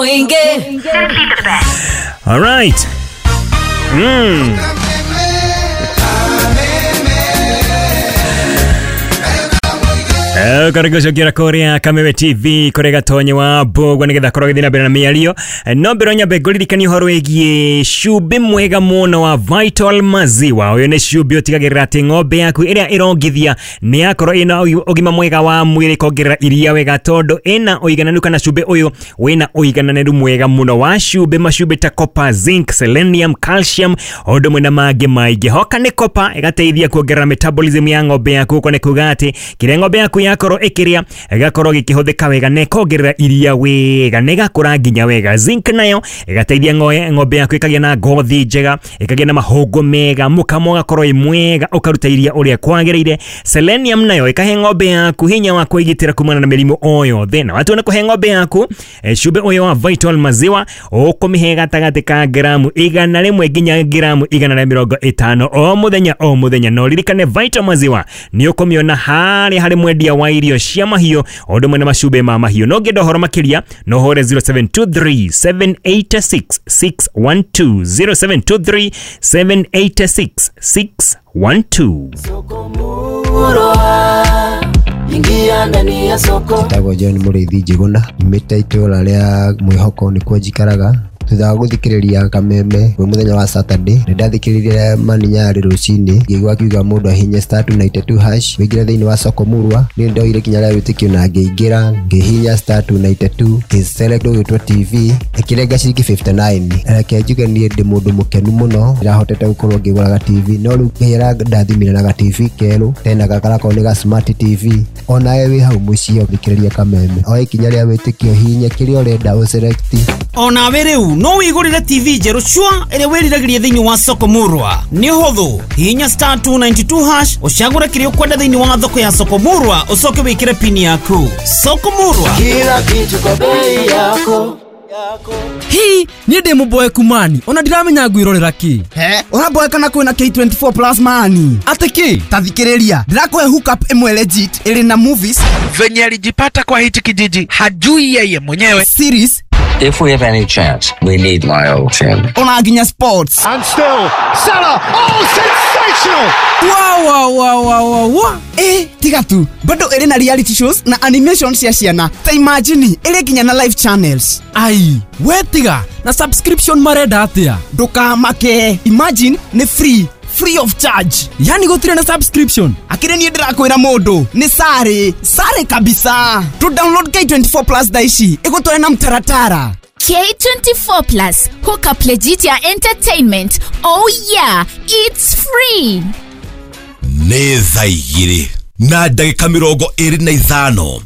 Simply the best. All right. Karibu gũcokera kũrĩa Kameme TV kũrĩa gatonye wa mbũgwa nĩgetha korwo gĩthiĩ na mbere na mĩario. No mbere nyambe ngũririkanie ũhoro wĩgiĩ cumbĩ mwega mũno wa Vital Maziwa. Ũyũ nĩ cumbĩ ũtigagĩrĩra atĩ ng'ombe yaku ĩrĩa ĩrongithia nĩ yakorwo ĩna ũgima mwega wa mwĩrĩ, ĩkongerera iria wega tondũ ĩna ũigananu kana cumbĩ ũyũ wĩna ũigananĩru mwega mũno wa cumbĩ, macumbĩ ta copper, zinc, selenium, calcium ũndũ ũmwe na mangĩ maingĩ. Hoka nĩ copper ĩgateithia kuongerera metabolism ya ng'ombe yaku, ũguo nĩ kuga atĩ kĩrĩa ng'ombe yaku yakorwo ĩkĩrĩa ĩgakorwo gĩkĩhũthĩka wega na ĩkongerera iria wega na ĩgakũra nginya wega. Zinc nayo ĩgateithia ng'ombe yaku ĩkagĩa na ngothi njega, ĩkagĩa na mahũngũ mega, mũkamo ũgakorwo wĩ mwega, ũkaruta iria ũrĩa kwagĩrĩire. Selenium nayo ĩkahe ng'ombe yaku hinya wa kwĩgitĩra kumana na mĩrimũ o yothe. Na watua nĩ kũhe ng'ombe yaku cumbĩ ũyũ wa Vital Maziwa, ũkũmĩhe gatagatĩ ka gramu 100 nginya gramu 150 o mũthenya o mũthenya. Na ũririkane Vital Maziwa nĩ ũkũmĩona harĩa harĩ mwendia wa irio cia mahiũ o ũndũ ũmwe na macumbĩ ma mahiũ. No ũngĩenda ũhoro makĩria no ũhũre 0723 786 612, 0723 786 612. Ingia ndani ya soko. Njĩtagwo John Mũrĩithi Njĩgũna, nyumĩte itũra rĩa Mwĩhoko nĩkuo njikaraga. Thutha wa gũthikĩrĩria Kameme kwĩ mũthenya wa Saturday, nĩ ndathikĩrĩirie Mani Nyarĩ rũcinĩ, ngĩigua akiuga mũndũ ahihinye star 292 hash wĩingĩre thĩinĩ wa soko murwa. Niĩ nĩndoire ikinya rĩa wĩtĩkio na ngĩingĩra, ngĩhihinya star 292 ngĩselect ũgĩtwo TV ĩkĩrenga ciringi 59. Reke njuge niĩ ndĩ mũndũ mũkenu mũno, ndĩrahotete gũkorwo ngĩgũra ga TV, no rĩu Ngai arandathimire na ga TV kerũ, tena gaka garakorwo nĩ ga smart TV. Onawe wĩ hau mũciĩ ũthikĩrĩrie Kameme, oe ikinya rĩa wĩtĩkio, hihinya kĩrĩa ũrenda ũselect. Onawe rĩu no wĩgũrĩre TV njerũ cua ĩrĩa wĩriragĩria thĩinĩ wa soko murwa. Nĩ ũhũthũ, hihinya star 292 hash ũcagũre kĩrĩa ũkwenda thĩinĩ wa thoko ya soko murwa, ũcoke wĩkĩre pini yaku. Soko murwa, kila kitu kwa bei yako. Hi, niĩ ndĩ mũboeku mani, ona ndiramenya ngwĩrorera kĩ. He, ũraboeka na kwĩna K24 Plus mani. Atĩ kĩ? Ta thikĩrĩria, ndĩrakũhe hookup ĩmwe legit ĩrĩ na movies. Venye alijipata kwa hichi kijiji hajui yeye mwenyewe. Series. If we have any chance, we need my old team. Ona nginya sports. And still, Salah, oh, sensational! Wow, wow, wow, wow, wow, wow. Tiga tu, bado ĩrĩ na reality shows na animation cia ciana. Ta imagine, ĩrĩ nginya na live channels. Ai, we tiga, na subscription marenda atĩa? Ndũkamake, imagine nĩ free. Free of charge. Yani gũtirĩ na subscription. Akĩrĩ niĩ ndĩrakwĩra mũndũ nĩ sare sare kabisa. To download K24 Plus thaa ici ĩgũtware na mtaratara. K24 Plus, hook up legit ya entertainment. Oh yeah, it's free. Nĩ thaa igĩrĩ na ndagĩka 25.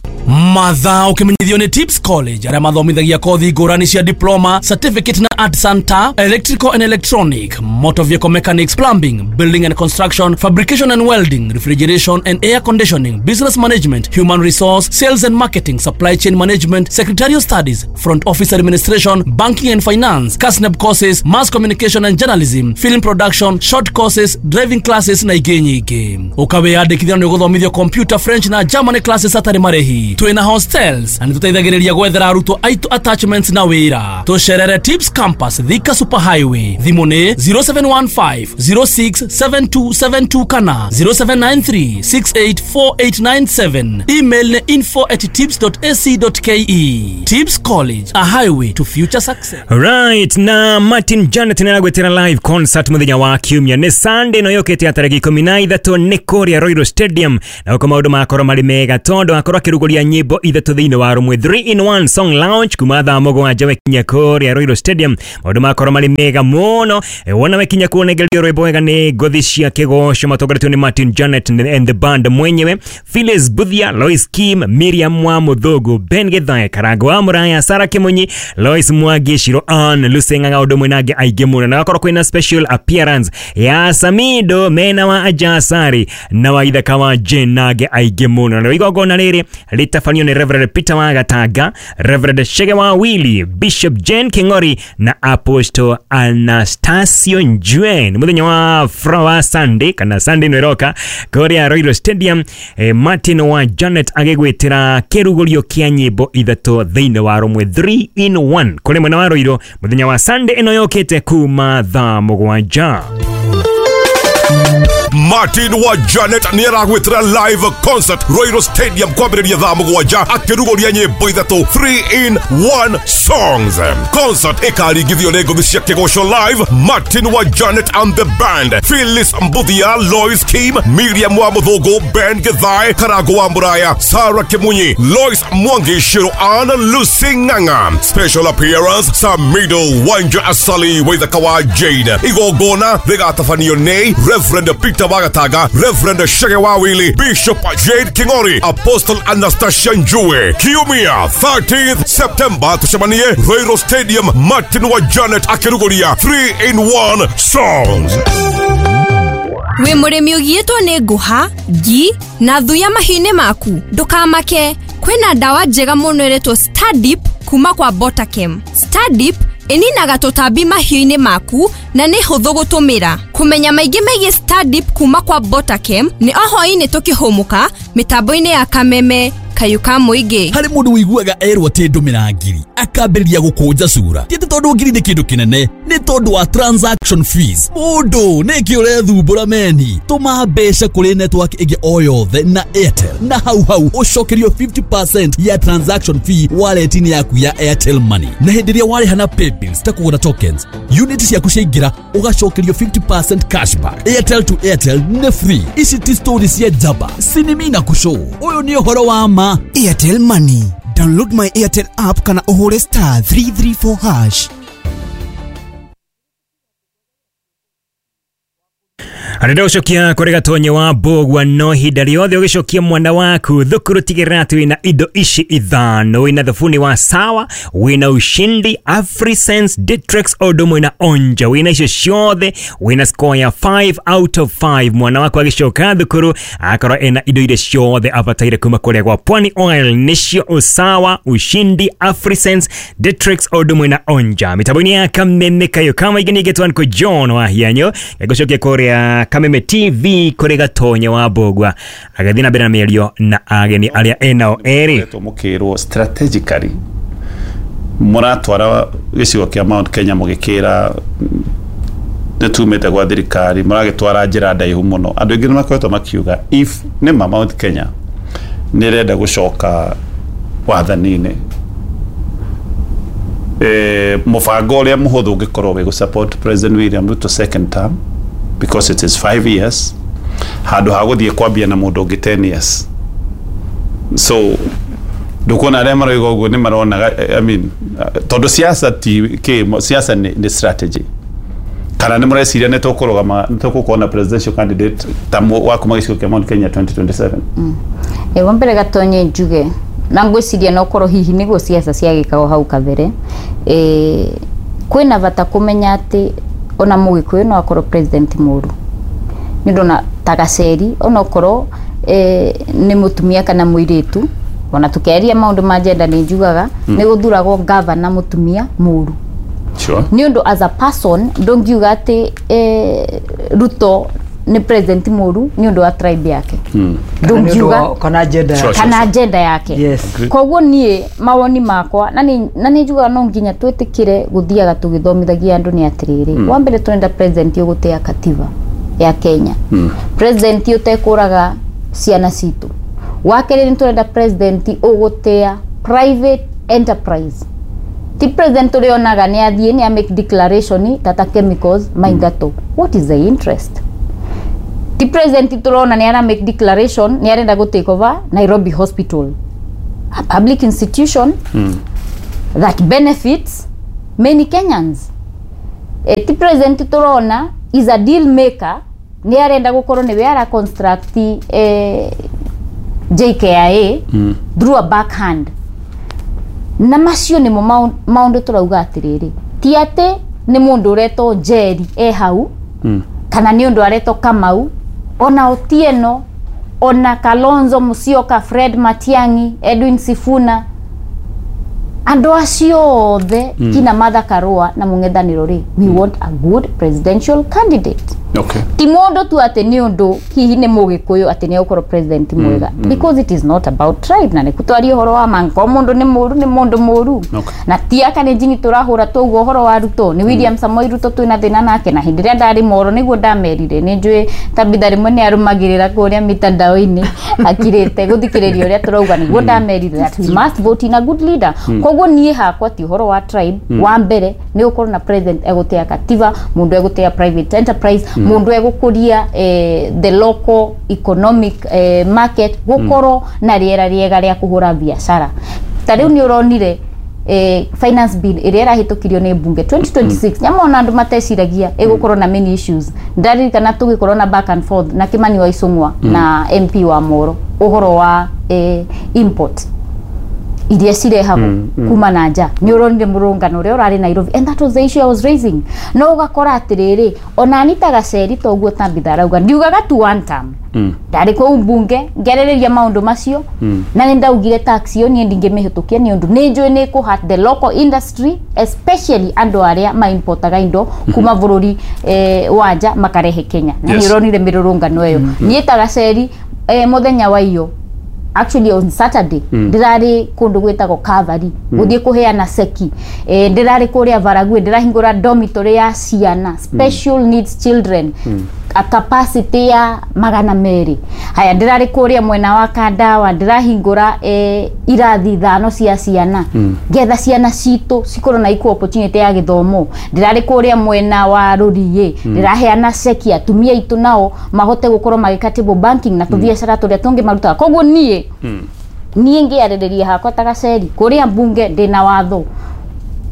Mathaa ũkĩmenyithio nĩ Tips College arĩa mathomithagia kothi ngũrani cia diploma, certificate na art center, electrical and electronic, motor vehicle mechanics, plumbing, building and construction, fabrication and welding, refrigeration and air conditioning, business management, human resource, sales and marketing, supply chain management, secretarial studies, front office administration, banking and finance, KASNEB courses, mass communication and journalism, film production, short courses, driving classes na ingĩ nyingĩ. Ũkawĩyandĩkithia nĩ ũgũthomithio computer, French na German classes hatarĩ marĩhi. Twĩna hostels na nĩtũteithagĩrĩria gwethera arutwo aitũ attachments na wĩra. Tũcerere Tips Campus, Thika Super Highway. Thimũ nĩ 0715 067272 kana 0793 684897. Email nĩ info@tips.ac.ke. Tips College, a highway to future success. Right, na Martin Janet nĩaragwĩtĩra live concert mũthenya wa kiumia nĩ Sunday no yũkĩte ya tarĩki 13 nĩ kũrĩa Royal Stadium, na gũkũ maũndũ makorwo marĩ mega tondũ akorwo akĩrugũria nyĩmbo ithatũ thĩinĩ wa rũmwe 3 in 1 song launch kuma thaa 7 wekinya kũrĩa Royal Stadium. Maũndũ makorwo marĩ mega mũno. Wona wekinya kuonengerio rwĩmbo wega nĩ ngothi cia kĩgoco matongoretio nĩ Martin Janet and the band mwenyewe, Phyllis Buthia, Lois Kim, Miriam wa Mũthũngũ, Ben Githae, Karango wa Mũraya, Sarah Kĩmunyi, Lois Mwangi, Shiro Ann, Lucy Ng'ang'a ũndũ ũmwe na angĩ aingĩ mũno. Na gakorwo kwĩna special appearance ya Samido mena wa Ajasari na wa Ithaka wa Jane na angĩ aingĩ mũno. Na igongona rĩrĩ rĩta Gĩgĩtabanio nĩ Reverend Peter Wagatanga, Reverend Shege wa Willy, Bishop Jane King'ori na Apostle Anastasio Njuen. Mũthenya wa Flower Sunday kana Sunday ĩno ĩroka kũrĩa Royal Stadium, Martin wa Janet agĩgwĩtĩra kĩrugũrio kĩa nyĩmbo ithatũ thĩinĩ wa rũmwe 3 in 1 kũrĩ mwena wa Roiro mũthenya wa Sunday ĩno yũkĩte kuma thaa 7. Martin wa Janet nĩ aragwĩtĩra live concert Royal Stadium kwambĩrĩria thaa 7 akĩrugũria nyĩmbo ithatũ 3 in 1 songs. Concert ĩkaringithio nĩ ngũthi cia kĩgoco live Martin wa Janet and the band, Phyllis Mbuthia, Lois Kim, Miriam wa Mũthũngũ, Ben Githae, Karango wa Mũraya, Sarah Kimunyi, Lois Mwangi, Shiro Ann, Lucy Ng'ang'a. Special appearance Samido Wanja Asali Waithaka wa Jane. Igongona rĩgatabanio nĩ Reverend Peter Wagatanga, Reverend Shege Wawili, Bishop Jade King'ori, Apostle Anastasia Njue. Kiumia 13th September tucemanie Royal Stadium, Martin wa Janet akĩrugũria 3 in 1 songs. Wĩ mũrĩmi ũgiĩtwo nĩ ngũha, ngi na thuya mahiũ-inĩ maku, ndũkamake, kwĩna ndawa njega mũno ĩretwo Stardip kuma kwa Botakem. Stardip ĩninaga tũtambi mahiũ-inĩ maku na nĩ hũthũ gũtũmĩra. Kũmenya maingĩ megiĩ Stardip kuma kwa Botakem nĩ o hwaĩ-inĩ tũkĩhũmũka mĩtambo-inĩ ya Kameme Kayũ ka mũingĩ. Harĩ mũndũ ũiguaga erwo atĩ ndũmĩra ngiri akambĩrĩria gũkũnja cura. Ti atĩ tondũ ngiri nĩ kĩndũ kĩnene, nĩ tondũ wa transaction fees. Mũndũ nĩkĩ ũrethumbũra meni? Tũma mbeca kũrĩ network ĩngĩ o yothe na Airtel, na hau hau ũcokerio 50% ya transaction fee wallet-inĩ yaku ya Airtel Money. Na hĩndĩ ĩrĩa warĩha na paybills ta kũgũra tokens, unit ciaku ciaingĩra ũgacokerio 50% cashback. Airtel to Airtel nĩ free. Ici ti story cia njamba, sinimi na kũcũ. Ũyũ nĩ ũhoro wa ma. Airtel Money. Download my Airtel app kana ũhũre star 334 hash. Arenda gũcokia kũrĩ Gatonye wa Mbũgua no ihinda rĩothe ũgĩcokia mwana waku thukuru tigĩrĩra atĩ wĩna indo ici ithano: wĩna thabuni wa Sawa, wĩna Ushindi, Afrisense, Ditrex o ũndũ ũmwe na Onja. Wĩna icio ciothe wĩna score ya 5 out of 5. Mwana waku agĩcoka thukuru akorwo ena indo iria ciothe abataire kuma kũrĩa gwa Pwani Oil, nĩcio Usawa, Ushindi, Afrisense, Ditrex o ũndũ ũmwe na Onja. Mĩtambo-inĩ ya Kameme Kayũ kama ingĩ nĩngĩtwo nĩ John wa Hianyo gũcokia kũrĩa Kameme TV kũrĩ Gatonye wa Mbũgua agĩthiĩ na mbere na mĩario na ageni arĩa enao erĩ. Mũkĩrwo strategically mũratwara gĩcigo kĩa Mount Kenya mũgĩkĩra nĩ tumĩte gwa thirikari, mũragĩtwara njĩra ndaihu mũno. Andũ aingĩ nĩ makoretwo makiuga if nĩ ma Mount Kenya nĩ ĩrenda gũcoka wathani-inĩ, mũbango ũrĩa mũhũthũ ũngĩkorwo wĩ gũ support President William Ruto second term because it is 5 years handũ ha gũthiĩ kwambia na mũndũ ũngĩ 10 years. So ndũkuona arĩa maroiga ũguo nĩ maronaga, I mean, tondũ siasa ti kĩ, siasa nĩ strategy. Kana nĩ mũreciria nĩ tũkũrũgama, nĩ tũgũkorwo na presidential candidate ta wa kuma gĩcigo kĩa Mount Kenya 2027? Wa mbere Gatonye njuge na ngwĩciria no korwo hihi nĩguo siasa ciagĩkagwo hau kabere, kwĩna bata kũmenya atĩ ona Mũgĩkũyũ no akorwo president mũru nĩ ũndũ ona ta Gaceri onokorwo nĩ mũtumia kana mũirĩtu, ona tũkĩaria maũndũ ma gender nĩ njugaga nĩ gũthuragwo governor mũtumia mũru. Sure. Nĩ ũndũ as a person ndũngiuga atĩ Ruto nĩ president mũru nĩ ũndũ wa tribe yake. Ndũngiuga kana agenda yake. Kana agenda yake. Yes. Koguo niĩ mawoni makwa na nĩ njugaga no nginya twĩtĩkĩre gũthiaga tũgĩthomithagia andũ nĩ atĩrĩrĩ. Wa mbere tũrenda president ũgũtĩa katiba ya Kenya. President ũtekũraga ciana citũ. Wa kerĩ nĩ tũrenda president ũgũtĩa private enterprise. Ti president ũrĩonaga nĩ athiĩ nĩ a make declaration Tata Chemicals maingatwo. What is the interest? Ti president tũrona nĩ ara make declaration nĩ arenda gũ take over Nairobi Hospital, a public institution that benefits many Kenyans. Ti president tũrona is a deal maker nĩ arenda gũkorwo nĩwe ara construct JKIA through a backhand. Na macio nĩmo maũndũ tũrauga atĩrĩrĩ, ti atĩ nĩ mũndũ ũretwo Njeri e hau kana nĩ ũndũ aretwo Kamau, ona Otieno, Ona Kalonzo Musyoka, Fred Matiang'i, Edwin Sifuna, andu acio othe kina Martha Karua na mung'ethaniro ri, we want a good presidential candidate. Ti mundu tu ati ni undu hihi ni mugikuyu ati ni ukorwo president mwega, because it is not about tribe, na ni kutwaria uhoro wa manko mundu ni muru ni mundu muru. Na ti aka ni njini turahura tuguo uhoro wa Ruto ni William Samoei Ruto twina thina nake, na hindi ria ndari moro niguo ndamerire ni njui Tabitha rimwe ni arumagirira kuria mitandao-ini akirite guthikiriria uria turauga, niguo ndamerire that we must vote in a good leader. Koguo nie hakwa ti uhoro wa tribe. Wa mbere ni gukorwo na president egutea katiba, mundu egutea private enterprise, mundu egukuria the local economic market, gukorwo na riera riega ria kuhura biacara. Ta riu ni uronire finance bill iria irahitukirio ni bunge 2026, nyamona andu mateciragia igukorwo na many issues. Ndaririkana tugikorwo na back and forth na Kimani wa Icũng'wa na MP wa Moro uhoro wa import iria cirehagwo kuma na nja, ni uronire murungano uria urari Nairobi, and that was the issue I was raising. No ugakora atiriri ona Anita Gaceri toguo Tabitha arauga ndiugaga tu one term, ndari kuu mbunge ngerereria maundu macio, na ni ndaugire tax iyo nie ndingimihitukia ni undu ni njui ni ku hurt the local industry, especially andu aria ma importaga indo kuma bururi wa nja makarehe Kenya. Na ni uronire mirurungano iyo nie ta Gaceri muthenya wa iyo, actually on Saturday, ndirari kundu gwitagwo Calvary guthie kuheana seki, ndirari kuria Varagwe ndirahingura dormitory ya ciana special needs children, a capacity ya 200. Haya ndirari kuria mwena wa Kandawa ndirahingura irathi 5 cia ciana, ngetha ciana citu cikorwo na equal opportunity ya githomo. Ndirari kuria mwena wa Ruriĩ ndiraheana ceki atumia itu nao mahote gukorwo magika table banking na tubiacara turia tungi marutaga. Koguo nie ngiarĩrĩria hakwa ta Gaceri kuria mbunge ndina watho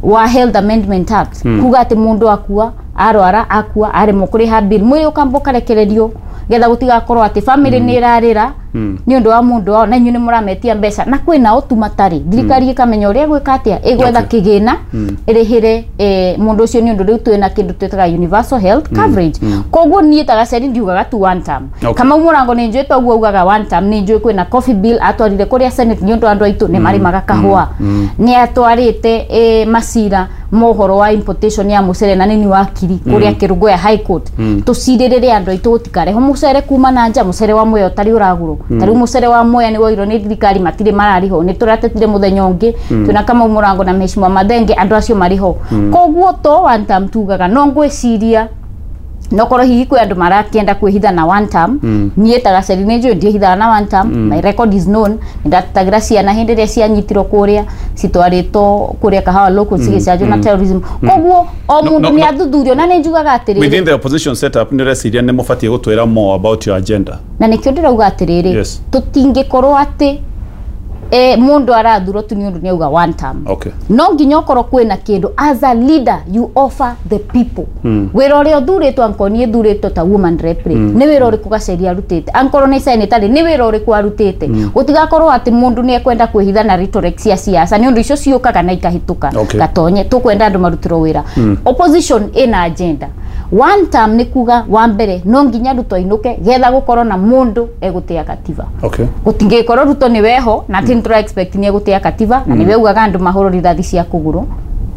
wa Health Amendment Act, kuga ati mundu akua arwara akua aremwo kuriha bill mwiri ukamba ukarekererio getha gutigakorwo ati family ni irarira ni undu wa mundu wao na inyu ni murametia mbeca, na kwina utu matari thirikari ikamenya uria gwika atia igwetha kigina irihire mundu ucio, ni undu riu twina kindu twitaga universal health coverage. Koguo nie ta Gaceri ndiugaga tu one term. Kamau Murango ni njui toguo ugaga one term, ni njui kwina coffee bill atwarire kuria Senate ni undu andu aitu ni marimaga kahua, ni atwarite macira mohoro wa importation ya mucere na nini wakiri kuria Kirugoya High Court, tuciririre andu aitu gutikareho mucere kuma na nja, mucere wa Mwea utari uragurwo. Tariu mucere wa Mwea ni woirwo ni thirikari matire marariho, ni turatetire muthenya ungi twina Kamau Murango na Mheshimiwa Mathenge andu acio mariho. Koguo to one term tugaga no ngwiciria no korwo hihi kwi andu marakienda kwihitha na one term, nie ta Gaceri ni njui ndiehithaga na one term. My record is known, ndatagira ciana hindi iria cianyitirwo kuria citwaritwo kuria Kahawa local cigicanjwo na terrorism. Koguo o mundu ni athuthurio, na ni njugaga atiriri within the opposition setup ni reciria ni mubatie gutwira more about your agenda, na nikio ndirauga atiriri tutingikorwo ati mundu arathurwo tu ni undu ni auga one term. No nginya ukorwo kwina kindu as a leader you offer the people. Wira uria uthuritwo ankorwo ni thuritwo ta woman rep ri, ni wira uriku Gaceri arutite, ankorwo ni senator ri ni wira uriku arutite. Gutigakorwo ati mundu ni ekwenda kwihitha na rhetoric cia siasa, ni undu icio ciukaga na ikahituka. Gatonye tukwenda andu marutirwo wira. Opposition ina agenda one term ni kuga wa mbere no nginya Ruto ainuke getha gukorwo na mundu egutea katiba. Gutingikorwo Ruto ni weho na ti ntura expect ni egutea katiba, na niwe ugaga andu mahurwo rithathi cia kuguru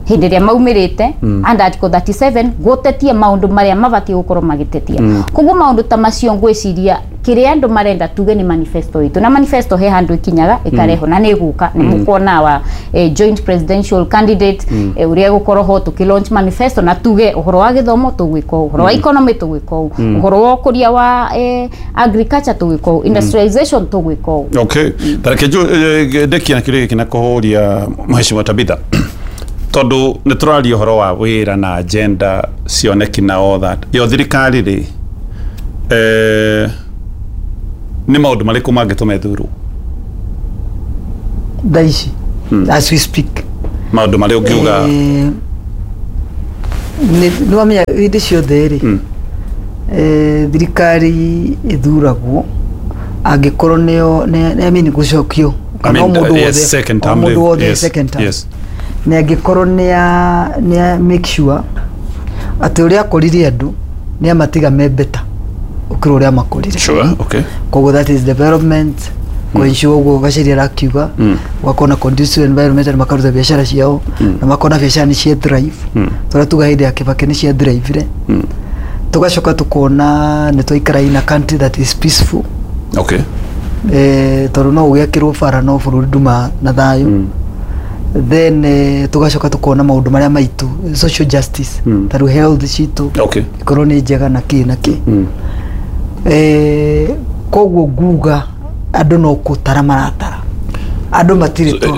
hindi ria maumirite under article 37 gutetie maundu maria mabatie gukorwo magitetia. Koguo maundu ta macio ngwiciria kiria andu marenda tuge ni manifesto itu, na manifesto he handu ikinyaga ikareho na ni guka ni mukuona wa joint presidential candidate uria gukorwo ho tuki launch manifesto, na tuge uhoro wa githomo tugwika uhoro wa economy tugwika uhoro wa kuria wa agriculture tugwika industrialization tugwika. Okay, tareke ndekia na kiria giki na kuhuria Mheshimiwa Tabitha, tondu ni turaria uhoro wa wira na agenda cioneki na all that, yo thirikari ri ni maundu mariku mangituma ithurwo thaa ici as we speak? Maundu maria ungiuga nĩ wamenya hĩndĩ ciothe rĩ, thirikari ithuragwo angĩkorwo nĩyo I mean gũcokio kana o mũndũ wothe, o mũndũ wothe second term, na angĩkorwo nĩ make sure atĩ ũrĩa akorire andũ nĩ amatiga me better. gũkĩra ũrĩa makorire. Sure, okay. Koguo that is development, kũensure ũguo Gaceria arakiuga, gũgakorwo na conducive environment na makaruta biacara ciao na makona biacara nĩ cia thrive. Tũrĩa tuga hĩndĩ ya Kibaki nĩ cia thrivire. Tugacoka tukona nĩ twaikara in a country that is peaceful. Okay. Tondũ no ũgĩakĩrwo bara no bũrũri nduma na thayũ. Then tugacoka tukona maũndũ marĩa maitũ social justice, ta rĩu health citũ ikorwo nĩ njega na kĩ na kĩ. Koguo nguga andũ no gũtara maratara, andũ matirĩ to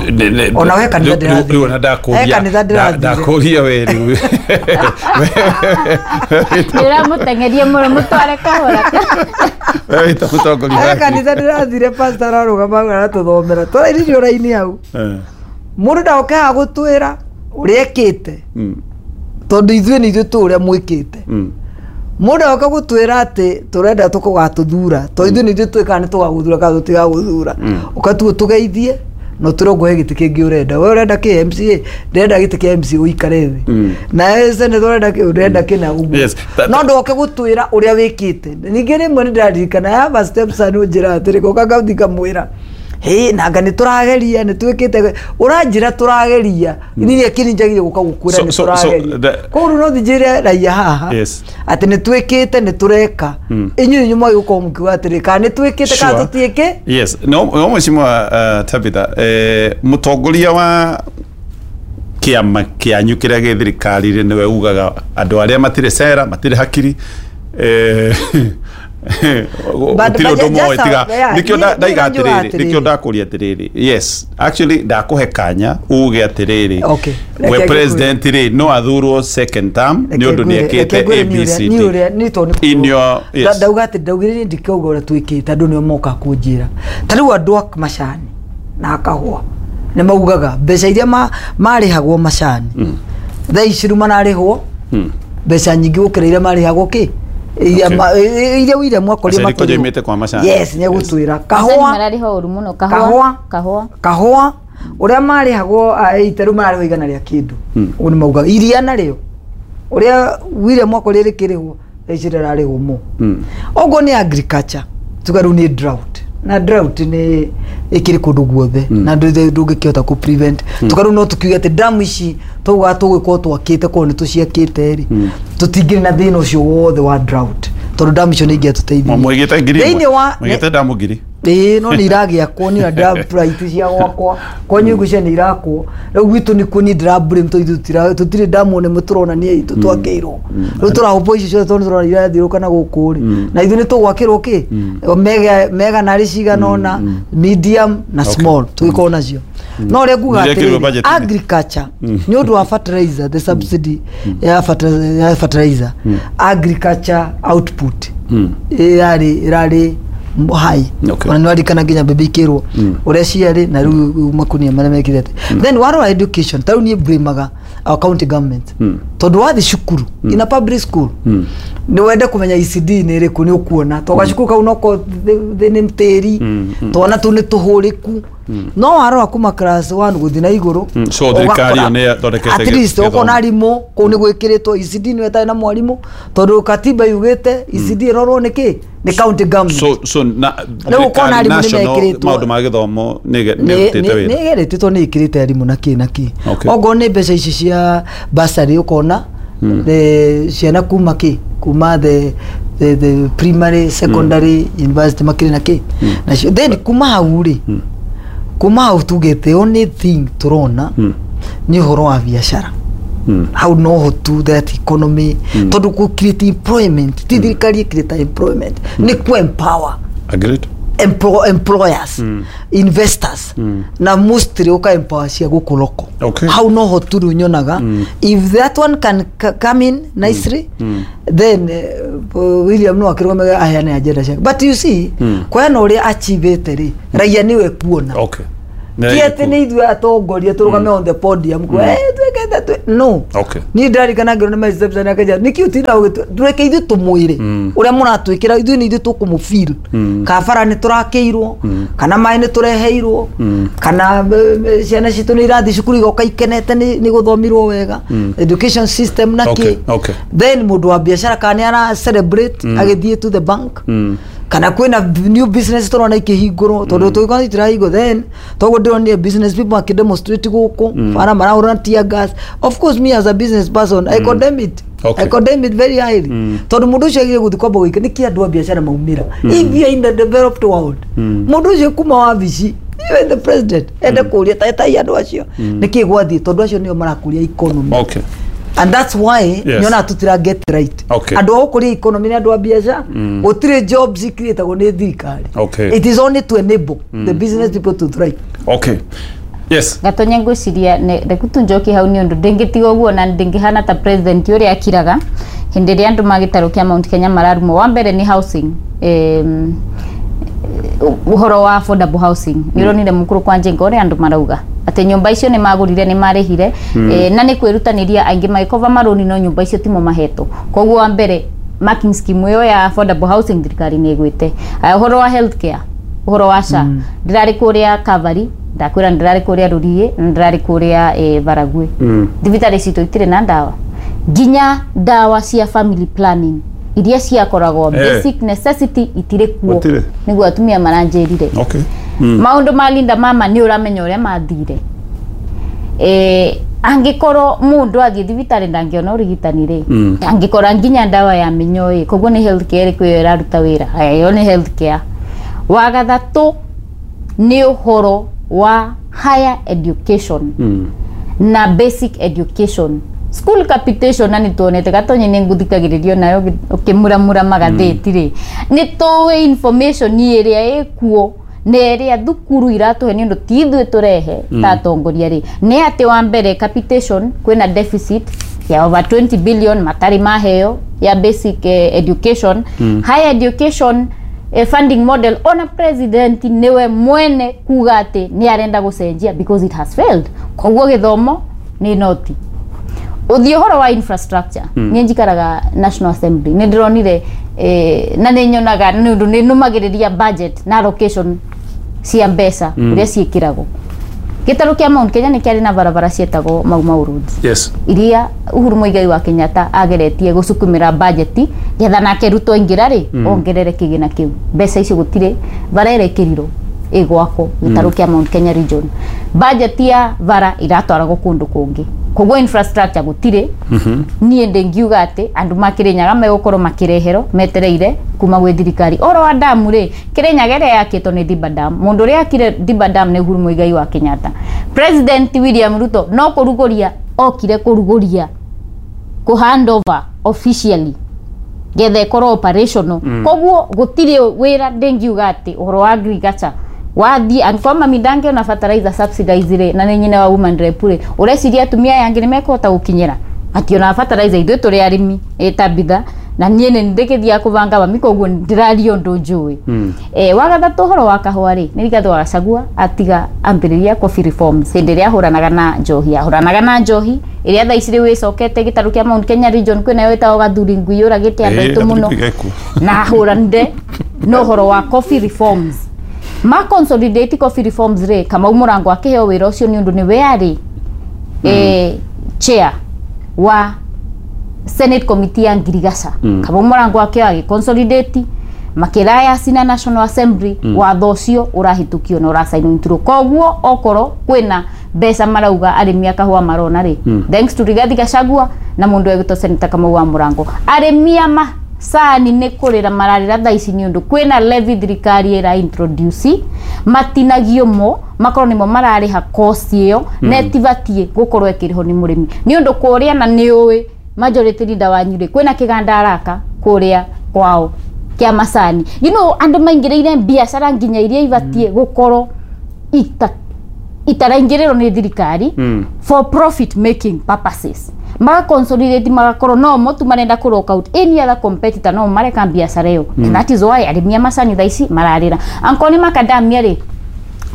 ona we kanitha ndĩrathiĩ, ndakũria we rĩu ndĩramũteng'eria mũno mũtware kahora. We wĩta mũtongoria he kanitha ndĩrathire, pastor ararũgama aratũthomera tũrairirio raini hau, mũndũ ndaoke haha gũtwĩra ũrĩa ekĩte, tondũ ithuĩ nĩ ithuĩ tũ ũrĩa mwĩkĩte. Mũndũ agoka gũtwĩra atĩ tũrenda tũgatũthura, tondũ ithuĩ nĩ ithuĩ tũĩ kana nĩ tũgagũthura kana tũtigagũthura. Ũkatuo tũgeithie no tũrĩ ngũhe gĩtĩ kĩngĩ ũrenda, we ũrenda kĩ MCA, ndĩrenda gĩtĩ kĩa MCA ũikare thĩ, nawe senator ũrenda kĩ, ũrenda kĩna ũguo, no ndũgoke gũtwĩra ũrĩa wĩkĩte. Ningĩ rĩmwe nĩ ndĩraririkana I have a stepson ũnjĩra atĩrĩ, goka ngathi ngamwĩra hĩ nanga nĩ tũrageria nĩ twĩkĩte, ũranjĩra tũrageria niĩ kĩni njagire gũka gũkwĩra nĩ tũrageria. Koguo rĩu no njĩre raia haha atĩ nĩ twĩkĩte nĩ tũreka, inyuĩ inyuĩ mwagĩgũkorwo mũkiuga atĩrĩ kana nĩ twĩkĩte kana tũtiĩkĩ. Yes, no mheshimiwa Tabitha, mũtongoria wa kĩama kĩanyu kĩrĩa gĩ thirikari-inĩ nĩwe ugaga andũ arĩa matirĩ cera matirĩ hakiri gũtirĩ ũndũ moĩ tiga nĩkĩo ndaiga atĩrĩrĩ, nĩkĩo ndakũria atĩrĩrĩ. Yes, actually ndakũhe kanya uge atĩrĩrĩ, we president rĩ no athurwo second term nĩ ũndũ nĩ ekĩte ABCD in your. Yes, ndauga atĩ ndaugire niĩ ndikauga ũrĩa twĩkĩte, andũ nĩo moka kũnjĩra. Ta rĩu andũ a macani na kahũa nĩ maugaga mbeca iria marĩhagwo macani thaa ici rĩu mararĩhwo mbeca nyingĩ gũkĩra iria marĩhagwo kĩ iria William mwakoria makĩrĩte kwa macani. Yes, nĩ egũtwĩra kahũa mararĩhwo ũru mũno, kahũa kahũa kahũa ũrĩa marĩhagwo ite rĩu mararĩhwo igana rĩa kĩndũ, ũguo nĩ maugaga. Iria narĩo ũrĩa William mwakoria rĩkĩrĩhwo thaa ici rĩrarĩhwo mo. Oguo nĩ agriculture tuga rĩu nĩ drought, na drought nĩ ĩkĩrĩ kũndũ guothe na ndũngĩkĩhota kũ prevent. Tuga rĩu no tũkiuge atĩ damu ici twaugaga tũgũkorwo twakĩte korwo nĩ tũciakĩte rĩ, tũtingĩrĩ na thĩna ũcio wothe wa drought, tondũ damu icio nĩ ingĩatũteithirie. Mũigĩte ngiri ĩmwe, mũigĩte damu ngiri ĩĩ, no nĩ iragĩakwo, nĩ ndĩra cia gwakwa kwanyu ngũcia nĩ irakwo. Rĩu gwitũ nĩkuo niĩ ndĩra blame tondũ tũtirĩ damu nĩ tũrona nĩ itũ twakĩirwo, rĩu tũrahũpwo icio ciothe tondũ tũrona irathiũrũrũka na gũkũ rĩ, na ithuĩ nĩ tũgwakĩrwo kĩ mega narĩ cigana ũna, medium na small tũgĩkorwo nacio. No ũrĩa nguga atĩrĩrĩ, agriculture nĩ ũndũ wa fertilizer, the subsidy ya fertilizer, agriculture output ĩrarĩ high. Ona nĩ warikana nginya mbembe ikĩrwo ũrĩa ciarĩ na rĩu makunia marĩa mekire atĩ. Then warora education, ta rĩu niĩ blamaga our county government, tondũ wathiĩ cukuru in a public school nĩ wende kũmenya ECD nĩ ĩrĩkũ nĩ ũkuona, tondũ gacukuru kau noko nĩ tĩri, twana tũu nĩ tũhũrĩku. No warora kuma class 1 gũthiĩ na igũrũ, so thirikari ĩyo nĩ ĩthondekete at least ũkona arimũ kũu nĩ gwĩkĩrĩtwo ECD nĩ ĩtarĩ na mwarimũ, tondũ katiba yugĩte ECD ĩrorwo nĩ kĩ nĩ county government. So na rĩu ũkona arimũ nĩ mekĩrĩtwo maũndũ ma gĩthomo nĩ ĩrutĩte wĩra, nĩ ĩgeretio tondũ nĩ ĩkĩrĩte arimũ na kĩ na kĩ. Okorwo nĩ mbeca ici cia bursary ũkona ciana kuma kĩ kuma the primary, secondary, university makĩrĩ na kĩ nacio. Then kuma hau rĩ, kuma hau tuge the only thing tũrona nĩ ũhoro wa biacara. Hau noho tu that economy, tondũ kũ create employment ti thirikari ĩcreate employment, nĩ ku empower. Agreed. Employers, investors, na mostly ũka empower cia gũkũ local. Hau noho tu rĩu nyonaga if that one can come in nicely, then William no akĩrũgame aheane agenda ciake. But you see, kũheana ũrĩa achievĩte rĩ, raia nĩwe kuona. Okay. Ti atĩ nĩ ithuĩ atongoria tũrũgame on the podium kuga, "Eh, twĩkĩte no." Niĩ ndarikana ngĩrwo nĩ my stepson akanja nĩkĩ ũtinda tũreke ithuĩ tũmwĩre ũrĩa mũratwĩkĩra, ithuĩ nĩ ithuĩ tũkũmũfeel kana bara nĩ tũrakĩirwo, kana maĩ nĩ tũreheirwo, kana ciana citũ nĩ irathiĩ cukuru igoka ikenete nĩ gũthomirwo wega, education system na kĩ. Then mũndũ wa biacara kana nĩ ara celebrate agĩthiĩ to the bank, kana kwĩna new business tũrona ikĩhingũrwo, tondũ tũgĩkorwo itirahingwo, then toguo ndĩronire business people makĩdemonstrate gũkũ bara marahũra tear gas. Of course, me as a business person, I condemn it. I condemn it very highly, tondũ mũndũ ũcio agire gũthiĩ kwamba gũika nĩkĩ andũ a biacara maumĩra. If you are in the developed world, mũndũ ũcio kuma wabici, even the president ende kũria tetai andũ acio nĩkĩ gwathiĩ, tondũ acio nĩo marakũria economy. And that's why nyonaga tutira get right. Andũ a gũkũria economy nĩ andũ a biacara. Gũtirĩ jobs icreatagwo nĩ thirikari. It is only to enable the business people to thrive. Okay. Yes. Gatonya, ngwiciria reku tunjoki hau nĩ ũndũ ndĩngĩtiga ũguo na ndĩngĩhana ta president ũrĩa akiraga hĩndĩ ĩrĩa andũ magĩtarũ kĩa Mount Kenya mararumwo. Wa mbere nĩ housing, ũhoro wa affordable housing. Nĩ ũronire mũkũrũ kwa Njenga ũrĩa andũ marauga atĩ nyũmba icio nĩ magũrire, nĩ marĩhire, na nĩ kwĩrutanĩria aingĩ magĩkova marũni, no nyũmba icio timo mahetwo. Koguo wa mbere, marking scheme ĩyo ya affordable housing thirikari nĩ ĩgwĩte. Aya, ũhoro wa healthcare, ũhoro wa SHA, ndĩrarĩ kũrĩa Kavari, ndakwĩra ndĩrarĩ kũrĩa Rũriĩ na ndĩrarĩ kũrĩa Baragwi. Thibitarĩ citũ itirĩ na ndawa, nginya ndawa cia family planning iria ciakoragwo basic necessity itirĩ kuo. Gũtirĩ. Nĩguo atumia maranjĩrire. Maũndũ ma Linda Mama nĩ ũramenya ũrĩa mathire. Angĩkorwo mũndũ athiĩ thibitarĩ ndangĩona ũrigitani rĩ, angĩkora nginya ndawa ya mĩnyoo ĩ, koguo nĩ health care ĩrĩkũ ĩyo ĩraruta wĩra? Haya, ĩyo nĩ health care. Wa gatatũ nĩ ũhoro wa higher education na basic education, school capitation, na nĩ tuonete Gatonye nĩ nguthikagĩrĩrio nayo ũkĩmuramura magathĩti rĩ, nĩ tũĩ information ĩrĩa ĩkuo na ĩrĩa thukuru iratũhe, nĩ ũndũ ti ithuĩ tũrehe ta atongoria rĩ, nĩ atĩ wa mbere capitation kwĩna deficit ya over 20 billion matarĩ maheo ya basic education. Higher education, funding model, ona president niwe mwene kuga atĩ nĩ arenda gũcenjia because it has failed. Koguo gĩthomo nĩ noti ũthiĩ. Ũhoro wa infrastructure, niĩ njikaraga National Assembly, nĩ ndĩronire na nĩ nyonaga nĩ ũndũ nĩ nũmagĩrĩria budget na allocation cia mbeca ũrĩa ciĩkĩragwo. Gĩtarũ kĩa Mount Kenya nĩ kĩarĩ na barabara cietagwo Mau Mau Roads iria Uhuru Muigai wa Kenyatta ageretie gũcukumĩra budget getha nake Ruto aingĩra rĩ, ongerere kĩgĩna kĩu. Mbeca icio gũtirĩ, bara ĩrekĩrirwo ĩgwakwo gĩtarũ kĩa Mount Kenya region, budget ya bara iratwaragwo kũndũ kũngĩ, koguo infrastructure gũtirĩ. Niĩ ndĩngiuga atĩ andũ ma Kĩrĩnyaga megũkorwo makĩreherwo metereire kuma gwĩ thirikari. Oro wa damu rĩ, Kĩrĩnyaga ĩrĩa yakĩtwo nĩ Thiba Dam, mũndũ ũrĩa akire Thiba Dam nĩ Uhuru Muigai wa Kenyatta. President William Ruto no kũrugũria okire, kũrugũria, kũ hand over officially getha ĩkorwo operational. Koguo gũtirĩ wĩra. Ndĩngiuga atĩ ũhoro wa agriculture wathiĩ, angĩkorwo mami ndangĩona fertilizer subsidize rĩ, na nĩ nyina wa woman rep rĩ, ũreciria atumia aya angĩ nĩ mekũhota gũkinyĩra mationaga fertilizer? Ithuĩ tũrĩ arĩmi ĩta bitha na niĩ nĩ ndĩkĩthiaga kũbanga mami, koguo ndĩraria ũndũ njũĩ. Wa gatatũ, ũhoro wa kahũa rĩ, nĩ Rigathĩ wa Gachagua atiga ambĩrĩria coffee reforms hĩndĩ ĩrĩa ahũranaga na njohi, ahũranaga na njohi ĩrĩa thaa ici rĩu ĩcokete gĩtarũ kĩa Mount Kenya region. Kwĩnayo ĩtagwo Gathuri Ngui, yũragĩte andũ aitũ mũno, na ahũranire na ũhoro wa coffee reforms, ma consolidate coffee reforms rĩ, Kamau Mũrango akĩheo wĩra ũcio nĩ ũndũ nĩwe arĩ chair wa Senate Committee ya Ngirigaca. Kamau Mũrango akĩoya agĩconsolidate, makĩraya na National Assembly, watho ũcio ũrahĩtũkio na ũracainwo into law. Koguo okorwo kwĩna mbeca marauga arĩmi a kahũa marona rĩ, thanks to Rigathi Gachagua na mũndũ egwĩtwo Senator Kamau wa Mũrango. Arĩmi a macani nĩ kũrĩra mararĩra thaa ici nĩ ũndũ kwĩna levy thirikari ĩra introduce, matinagio mo makorwo nĩmo mararĩha cost ĩyo, na ĩtibatiĩ gũkorwo ĩkĩrĩhwo nĩ mũrĩmi, nĩ ũndũ kũrĩa na nĩ ũĩ majority leader wanyu rĩ, kwĩna kĩganda araka kũrĩa kwao kĩa macani. Andũ maingĩrĩire biacara nginya iria ibatiĩ gũkorwo itaraingĩrĩrwo nĩ thirikari for profit making purposes, maka consolidate, magakorwo no mo tu marenda kũ lock out any other competitor, no mareka biacara ĩyo. And that is why arĩmi a macani thaa ici mararĩra. Angĩkorwo nĩ macadamia rĩ,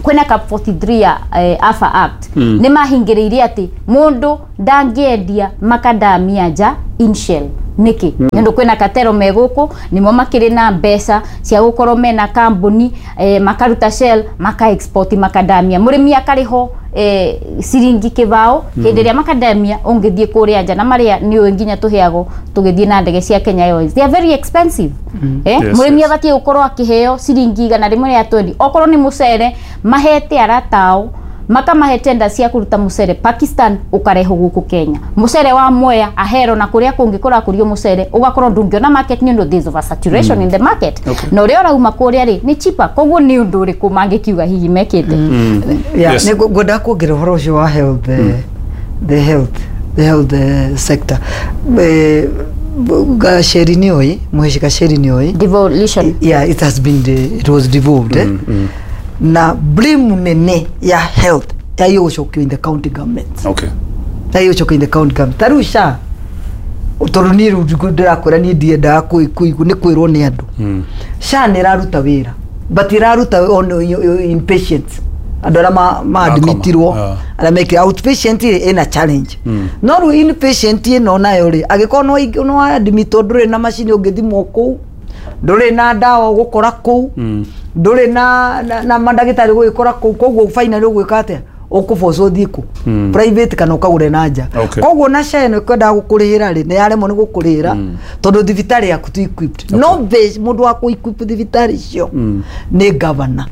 Kwĩna cap 43 ya AFA Act. Nĩ mahingĩrĩirie atĩ mũndũ ndangĩendia makadamia nja in shell. Nĩkĩ? Nĩ ũndũ kwĩna katero me gũkũ, nĩmo makĩrĩ na mbeca cia gũkorwo mena kambuni, makaruta shell, maka export makadamia, mũrĩmi akarĩhwo ciringi kĩbao. Hĩndĩ ĩrĩa makadamia ũngĩthiĩ kũrĩa nja na marĩa nĩ ũĩ nginya tũheagwo tũgĩthiĩ na ndege cia Kenya Airways, they are very expensive. Mũrĩmi abatiĩ gũkorwo akĩheo ciringi 120. Okorwo nĩ mũcere, mahete aratao, makamahe tenda cia kũruta mũcere Pakistan, ũkarehwo gũkũ Kenya. Mũcere wa Mwea, Ahero na kũrĩa kũngĩ kũrakũrio mũcere, ũgakorwo ndũngĩona market nĩ ũndũ there's oversaturation in the market. Na ũrĩa ũrauma kũrĩa rĩ nĩ cheaper. Koguo nĩ ũndũ ũrĩkũ mangĩkiuga hihi mekĩte? Yeah, nĩ ngwendaga kuongerera ũhoro ũcio wa health, the health sector. Gacheri nĩ oĩ, Mũhĩci Gacheri nĩ oĩ devolution. Yeah, it was devolved, eh? Na blame nene ya health yagĩrĩirwo gũcokio in the county governments. Yagĩrĩirwo gũcokio in the county government. Ta rĩu SHA, tondũ niĩ rĩu ndĩrakwĩra, niĩ ndiendaga nĩ kwĩrwo nĩ andũ. SHA nĩ ĩraruta wĩra, but ĩraruta on inpatients, andũ arĩa ma admitirwo, arĩa mekire outpatient rĩ, ĩna challenge. No rĩu inpatient ĩno nayo rĩ, angĩkorwo no admitwo, ndũrĩ na macini ũngĩthimwo kũu, ndũrĩ na ndawa ũgũkora kũu, ndũrĩ na mandagĩtarĩ gũgĩkora kũu. Koguo finally ũgwĩka atĩa? Ũkũbocwo ũthiĩ kũ? Private kana ũkagũre na nja. Koguo na SHA ĩno ĩkwendaga gũkũrĩhĩra rĩ, nĩ yaremwo nĩ gũkũrĩhĩra tondũ thibitarĩ yaku ti equipped. No mũndũ wa kũ equip thibitarĩ icio nĩ governor.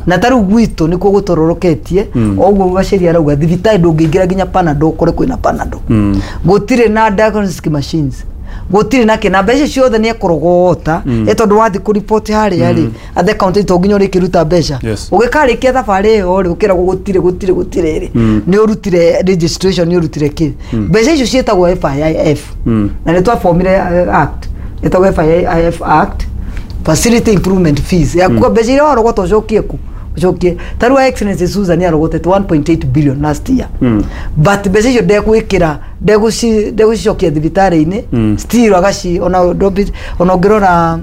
Na ta rĩu gwitũ nĩkuo gũtororoketie. Ũguo Gacheri arauga, thibitarĩ ndũngĩingĩra nginya Panado ũkore kwĩna Panado. Gũtirĩ na diagnostic machines, gũtirĩ na kĩ, na mbeca ciothe nĩ ekũrogota. Ĩ tondũ wathiĩ kũripoti harĩa rĩ, at the county, to nginya ũrĩkĩruta mbeca. Ũgĩkarĩkia thabarĩ ĩyo rĩ, ũkĩragwo gũtirĩ, gũtirĩ, gũtirĩ rĩ. Nĩ ũrutire registration, nĩ ũrutire kĩ. Mbeca icio ciĩtagwo FIIF. Na nĩ twabomire act ĩtagwo FIIF Act, Facility Improvement Fees, yakuga mbeca iria warogota ũcokie ku ũcokie. Ta rĩu Excellency Susan arogotete 1.8 billion last year, but mbeca icio ndegwĩkĩra, ndegũcicokia thibitarĩ-inĩ. Still agaci ona ona ũngĩrora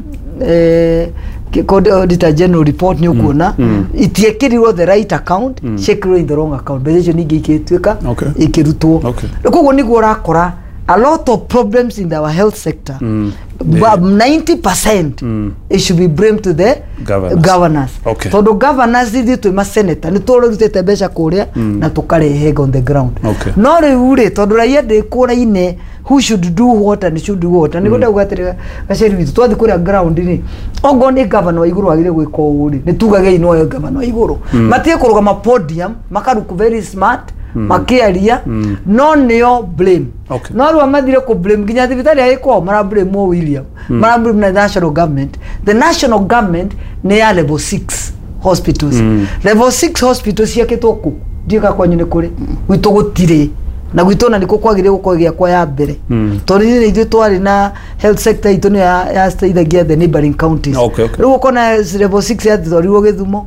Auditor General report, nĩ ũkuona itiĩkĩrirwo the right account, ciĩkĩrirwo in the wrong account. Mbeca icio ningĩ ikĩtuĩka ikĩrutwo. Koguo nĩguo ũrakora a lot of problems in our health sector. But 90% it should be blamed to the Governors. Governors. Tondũ governors, ithuĩ twĩ maseneta, nĩ tũrutĩte mbeca kũrĩa na tũkarehe on the ground. No rĩu rĩ, tondũ raia ndĩkũraine who should do what and should do what, nĩguo ndauga atĩrĩ, Gaceri witũ, twathiĩ kũrĩa ground rĩ, ongorwo nĩ governor wa igũrũ wagĩrĩire gwĩka ũũ rĩ, nĩ tugagei noyo governor wa igũrũ. Matige kũrũgama podium makaruku very smart makĩaria, no nĩo blame. No rĩu mathire kũ blame nginya thibitarĩ ya ĩkwao, mara blame o William, mara blame na national government. The national government nĩ ya level 6 hospitals. Level 6 hospitals ciakĩtwo kũ? Ndiũka kwanyu nĩ kũrĩ, gwitũ gũtirĩ, na gwitũ ona nĩkuo kwagĩrĩire gũkorwo gĩakwa ya mbere, tondũ ithuĩ ithuĩ twarĩ na health sector itũ nĩyo yateithagia the neighboring counties. Rĩu ũkona level 6 yatwarirwo Gĩthumo,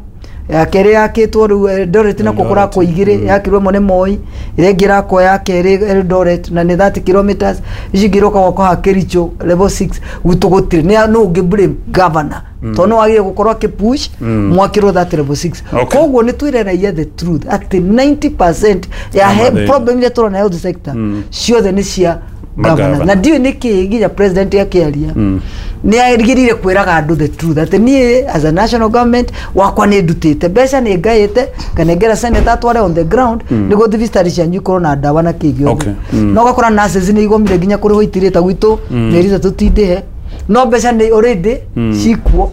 ya kerĩ yakĩtwo rĩu Eldoret, nakuo kũrakwo igĩrĩ. Yakirwo ĩmwe nĩ Moi, ĩrĩa ĩngĩ ĩrakwo ya kerĩ Eldoret, na nĩ 30 kilometers. Ici ingĩ iroka gwakwo haha Kericho, level 6. Gwitũ gũtirĩ. Nĩ no ũngĩ blame governor, tondũ no wagĩrĩire gũkorwo akĩpush mwakĩrwo that level 6. Koguo nĩ twĩre raia the truth atĩ 90% ya mathĩna. Problem iria tũrona health sector ciothe nĩ cia governors. Magavana. Na ndiũĩ nĩkĩ nginya president akĩaria nĩ agĩrĩire kwĩraga andũ the truth atĩ niĩ as a national government wakwa nĩ ndutĩte mbeca, nĩ ngaĩte, nganengera senator atware on the ground nĩguo thibitarĩ cianyu ikorwo na ndawa na kĩ gĩothe. No ũgakora nurses nĩ igomire nginya kũrĩhwo itirĩta gwitũ mĩeri 3 tindĩhe, no mbeca nĩ already cikuo,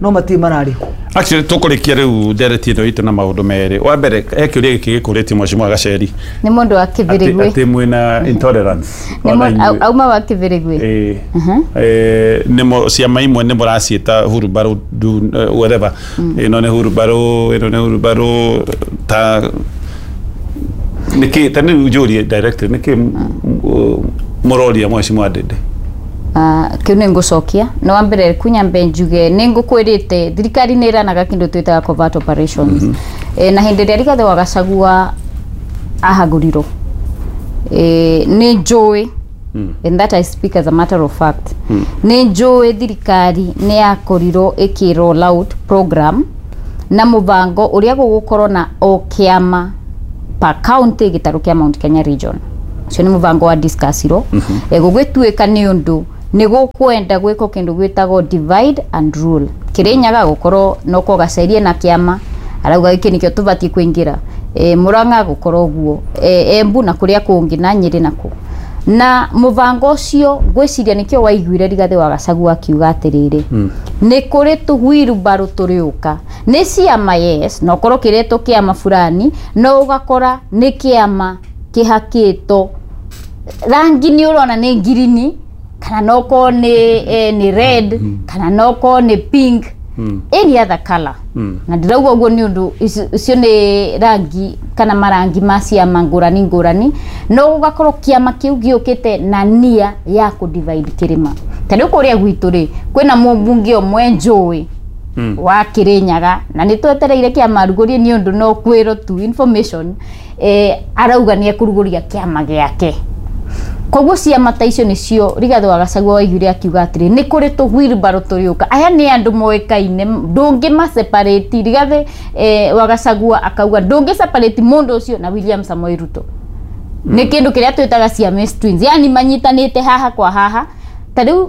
no matirĩ mararĩhwo. Actually, tũkũrĩkia rĩu ndereti ĩno itũ na maũndũ merĩ. Wa mbere, he kĩũria gĩkĩ gĩkũrĩtie Mheshimiwa Gacheri. Nĩ mũndũ wa atĩ Kĩbĩrĩgwĩ. Atĩ mwĩna intolerance. Nĩ Ona inyuĩ. auma wa Kĩbĩrĩgwĩ. Ĩĩ. Nĩmo ciama imwe nĩ mũraciĩta hurumbarũ whatever, ĩno nĩ hurumbarũ, ĩno nĩ hurumbarũ. Ta nĩkĩ, ta nĩ njũrie directly, nĩkĩ mũroria Mheshimiwa Ndindi? Kĩu nĩ ngũcokia. No wa mbere kunyambe njuge nĩ ngũkwĩrĩte thirikari nĩ ĩranaga kĩndũ twĩtaga covert operations. Na hĩndĩ ĩrĩa Rigathĩ wa Gachagua ahagũrirwo, nĩ njũĩ, and that I speak as a matter of fact, nĩ njũĩ thirikari nĩ yakorirwo ĩkĩ roll out program na mũbango ũrĩa gũgũkorwo na o kĩama per county gĩtarũ kĩa Mount Kenya region. Ũcio nĩ mũbango wa discussirwo. Gũgĩtuĩka nĩ ũndũ nĩ gũkwenda gwĩkwo kĩndũ gwĩtagwo divide and rule. Kĩrĩnyaga gũkorwo no Gacerie na kĩama arauga gĩkĩ nĩkĩo tũbatiĩ kũingĩra, Murang'a gũkorwo ũguo, Embu na kũrĩa kũngĩ na Nyĩrĩ nakuo. Na mũbango ũcio ngwĩciria nĩkĩo waiguire Rigathĩ wa Gachagua akiuga atĩrĩrĩ, nĩ kũrĩ tũhuirubarũ tũrĩũka nĩ ciama, yes, na ũkorwo kĩretwo kĩama fulani, no ũgakora nĩ kĩama kĩhakĩtwo rangi nĩ ũrona nĩ ngirini, kana no korwo nĩ red, kana no korwo nĩ pink, any other color. Na ndĩrauga ũguo nĩ ũndũ icio nĩ rangi kana marangi ma ciama ngũrani ngũrani, no ũgakorwo kĩama kĩu gĩũkĩte na nia ya kũ divide kĩrĩma. Ta rĩu kũrĩa gwitũ rĩ, kwĩna mũmbunge ũmwe njũĩ wa Kĩrĩnyaga, na nĩ twetereire kĩama arugũrie nĩ ũndũ no kwĩrwo tu information, arauga nĩ ekũrugũria kĩama gĩake. Koguo ciama ta icio nĩcio Rigathĩ wa Gachagua waiguire akiuga atĩrĩ, nĩ kũrĩ tũhuirubarũ tũrĩũka, aya nĩ andũ moĩkaine, ndũngĩma separate. Rigathĩ wa Gachagua akauga ndũngĩ separate mũndũ ũcio na William Samoei Ruto. Nĩ kĩndũ kĩrĩa twĩtaga Siamese twins, yani manyitanĩte haha kwa haha. Ta rĩu